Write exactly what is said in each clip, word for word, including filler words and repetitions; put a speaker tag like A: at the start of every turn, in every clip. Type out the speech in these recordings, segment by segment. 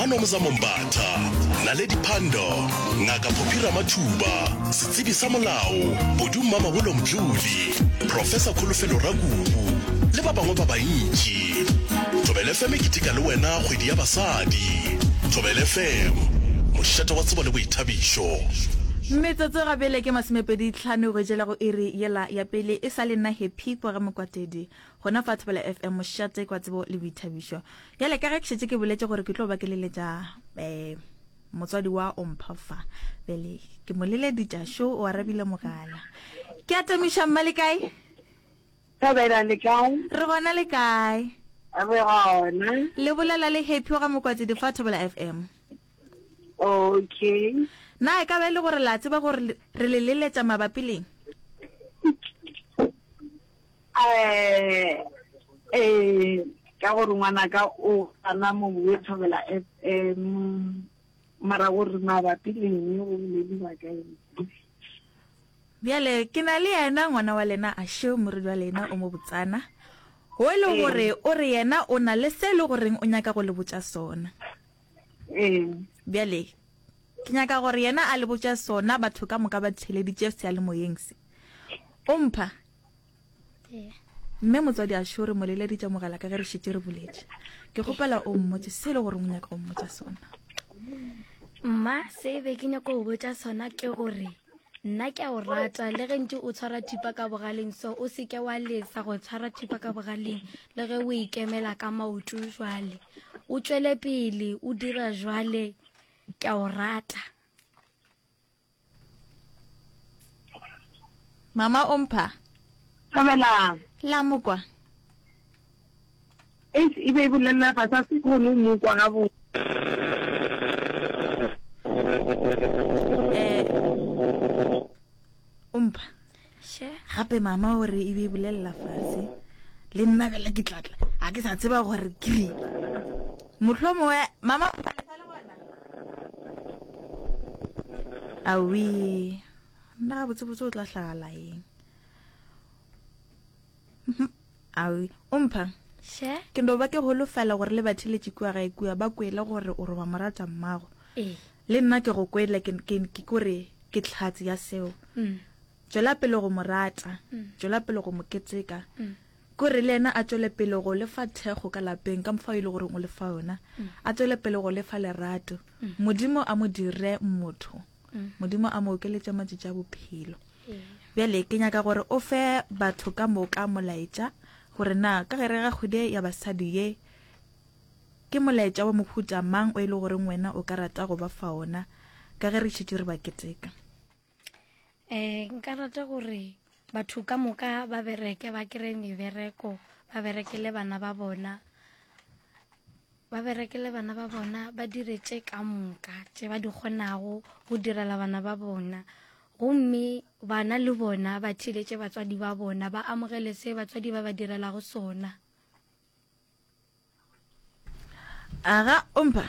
A: Manomzamo Mbatha, Naledi Pandor, Ngaka Phophi Ramathuba, setsebi sa molao, Bodu Mmamabolo Mdluli, Professor Kholofelo Rakubu le ba bangwe ba bantši. Thobela F M e keteka le wena kgwedi ya basadi. Thobela F M, mošate wa tsebo le boithabišo.
B: Metsotso ga bjale ke masomepedi tlhano go jela go iri yela ya pele e sa le nna Happy kwa ga Mokwatedi gona fa Thobela F M mošate kwa tsebo le boithabišo. Bjale ka ge ke šetše ke boletše gore ke tlo ba ke leletša eh motswadi wa Ompha fa, bjale ke mo leleditša šo o arabile mogala. Ke atamiša mma le kae?
C: Thobela le kae?
B: Re gona le kae?
C: Re gona.
B: Le bolela le Happy wa ga Mokwatedi fa Thobela F M.
C: Okay.
B: Na e ka ba e le gore la tseba gore re le leletša mabapi leng?
C: Eh, eh, ka gore ngwanaka o gana mo bue Thobela F M, mara gore mabapi leng go bolediwa ka eng?
B: Bjale ke na le yena ngwana wa lena a šeo morwedi wa lena o mo botsana. O e le gore o re yena o na le se e le goreng o nyaka go le botša sona.
C: Ee.
B: Bjale ke nyaka gore yena a le botša sona batho ka moka ba theleditše seyalemoyeng se. O mpha?
D: Ee.
B: Mme motswadi a šo re mo leleditše mogala ka ge re šetše re boletše. Ke kgopela o mmotše se e le gore o nyaka go mmotša sona.
D: Mma, se be ke nyaka go botša sona ke gore nna ke a o rata le ge ntše o tshwara thipa ka bogaleng, so o seke wa lesa go tshwara thipa ka bogaleng le ge o ikemela ka maoto jwale. O tšwele pele o dira jwale, ke a o rata.
B: Mama o mpha?
C: Thobela.
B: La mokwa.
C: Eish, e be e bolelela fase, a se kgone go mo kwa gabotse.
B: Eh, o mpha?
D: She.
B: Gape mama o re e be e bolelela fase. Le nna bjale ke tla tla. A ke sa tseba gore ke reng. Mohlomongwe, mama o mpha le sa le gona? Aowi, nna gabotsebotse o tla hlagala eng? Aowi, o mpha?
D: She.
B: Ke no ba ke holofela gore le batheletše kua gae kua ba kwele gore o re wa mo rata mmago.
D: Ee.
B: Le nna ke go kwele, ke, ke, ke kore ke tlhatse ya seo.
D: Mm.
B: Tšwela pele go mo rata,
D: Mm.
B: tšwela pele go mo keteka.
D: Mm.
B: Kore le yena a tšwele pele go lefa thekgo ka lapeng ka mokgwa e le gore o lefa yona.
D: Mm.
B: A tšwele pele go lefa lerato.
D: Mm.
B: Modimo a mo dire motho.
D: Mm.
B: Modimo a mo okeletše matšatši a bophelo.
D: Ee.
B: Bjale ke nyaka gore o fe batho ka moka molaetša gore na ka gare ga kgwedi ya basadi ye ke molaetša wa mohuta mang o e le goreng wena o ka rata go ba fa ona ka ge re šetše re ba keteka.
D: Eh, nka rata gore batho ka moka ba bereke, ba kry-e mebereko, ba berekele bana ba bona, ba berekele bana ba bona, ba dire tše ka moka tše ba di kgonago go direla bana ba bona. Gomme bana le bona ba theeletše batswadi ba bona, ba amogele se batswadi ba ba direlago sona.
B: Aga, o mpha?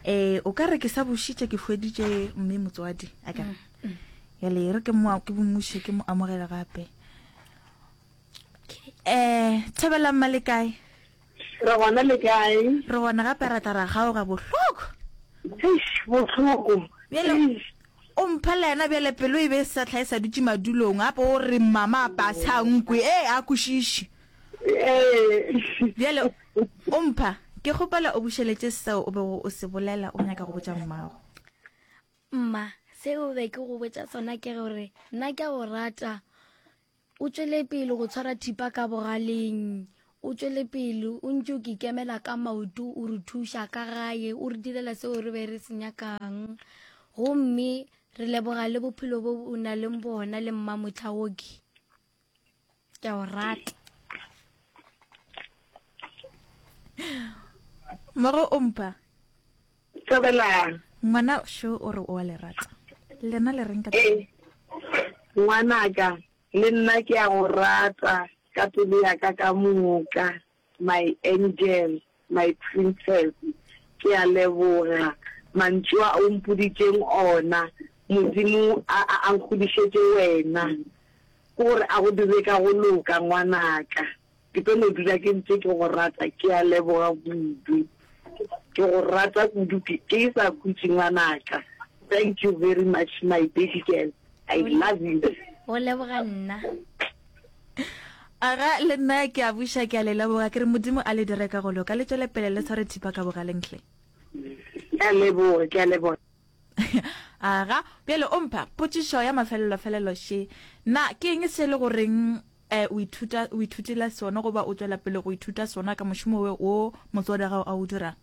B: Eh, o ka re ke sa bušitše ke hweditše mme motswadi, a ka re.
D: Mm, mm.
B: Bjale re ke mo, ke mmuše, ke mo amogele gape.
D: Okay.
B: Eh, Thobela mma le kae?
C: Re gona le kae?
B: Re gona gape ra tla ra kgaoga bohloko.
C: Eish, bohloko.
B: Bjale
C: Eish.
B: o mpha le yena bjale pelo e be e sa hlae sa dutše madulong, gape o re mama a pa sa nkwe, ee a kwešiše.
C: Ee.
B: Bjale o mpha, ke kgopela o bušeletše seo o bego o se bolela o nyaka go botša mmago.
D: Mma, seo be ke go botša sona ke gore nna ke a go rata. O tšwele pele go tshwara thipa ka bogaleng, o tšwele pele o ntše o ke ikemela ka maoto, o re thuša ka gae, o re direla seo re be re se nyakang. Gomme re leboga le bophelo bo o na leng bona le mma Motlhaoki. Ke a o rata.
B: Mmogo o mpha?
C: Thobela.
B: Ngwana šo o re o a le rata. Lena le reng ka
C: Ee, ngwanaka, le nna ke a go rata ka pelo ya ka ka moka, my angel, my princess. Ke a leboga mantšu a o mpoditšeng ona. Modimo a, a, a nkgodišetše wena. Ke gore a go dire ka go loka, ngwanaka. Ke tlo no dula ke ntše ke go rata. Ke a leboga kudu. Ke Ke go rata kudu ke ke sa khutše ngwanaka. Thank you very much my baby girl. I love you.
D: Go leboga nna.
B: Aga le nna ke a buša ke a le leboga ke re Modimo a le dire ka go loka le tšwele pele le tshware thipa ka bogaleng hle.
C: Ke a leboga, ke a leboga.
B: Aga bjale o mpha potšišo ya mafelelo-felelo še. Na ke eng se le goreng eh, o ithuta o ithutile sona goba o tšwela pele go ithuta sona ka mošomo wo wo motswadi wa gago a o dirang?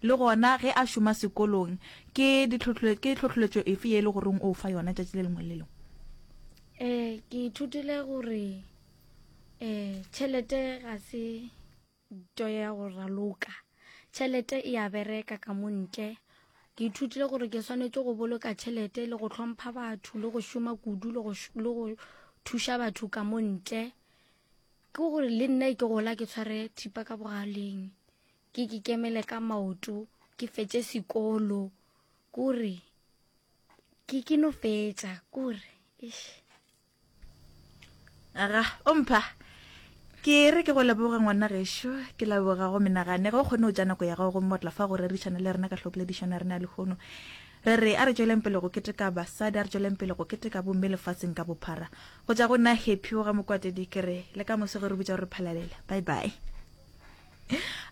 B: Le gona ge a šoma sekolong ke ditlhotlhole ke tlhohleletšo efe ye e le goreng o fa yona tšatši le lengwe le le lengwe?
D: Eh, ke ithutile gore eh tšhelete ga se nto ya go raloka. Tšhelete e a bereka ka mo ntle. Ke ithutile gore ke swanetše go boloka tšhelete le go hlompha batho le go šoma kudu le go le go thuša batho ka mo ntle. Ke gore le nna ke gola ke tshware thipa ka bogaleng. Ke ke kemele ka maoto, ke fetše sekolo. Kore ke ke no fetša, kore eish.
B: Aga o mpha ke re ke go leboga ngwana gešo ke leboga go menagane ge o kgone go tša nako ya gago gomme wa tla fa go rerišana le rena ka hlopoledišano ya rena ya lehono. Re re a re tšweleng pele go keteka basadi, a re tšweleng pele go keteka bomme lefaseng ka bophara. Go tša go nna Happy wa ga Mokwatedi ke re le ka moso ge re bitša gore phalalele. Bye bye.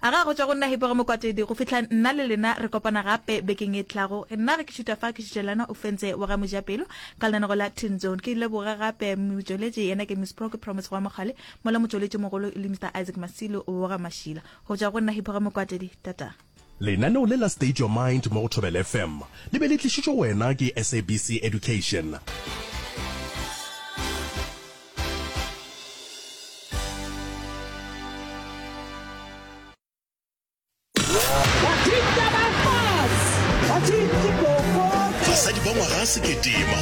B: Aga go tšwa go nna Happy wa ga Mokwatedi go fihla nna le lena re kopana gape bekeng e tlago. Nna ge ke šuta fa ke šutelana o fentse wa ga Mojapelo ka lenanego la Teen Zone. Ke leboga gape motšweletši yena ke Miss Pro ke Promise wa Mogale mola motšweletši mogolo e le Mister Isaac Masilo wa ga Mashila. Go tšwa go nna Happy wa ga Mokwatedi. Tata.
A: Lenaneo le la State Your Mind mo go Thobela F M le be le tlišitšwe go wena ke S A B C Education. Basadi ba ngwaga sekete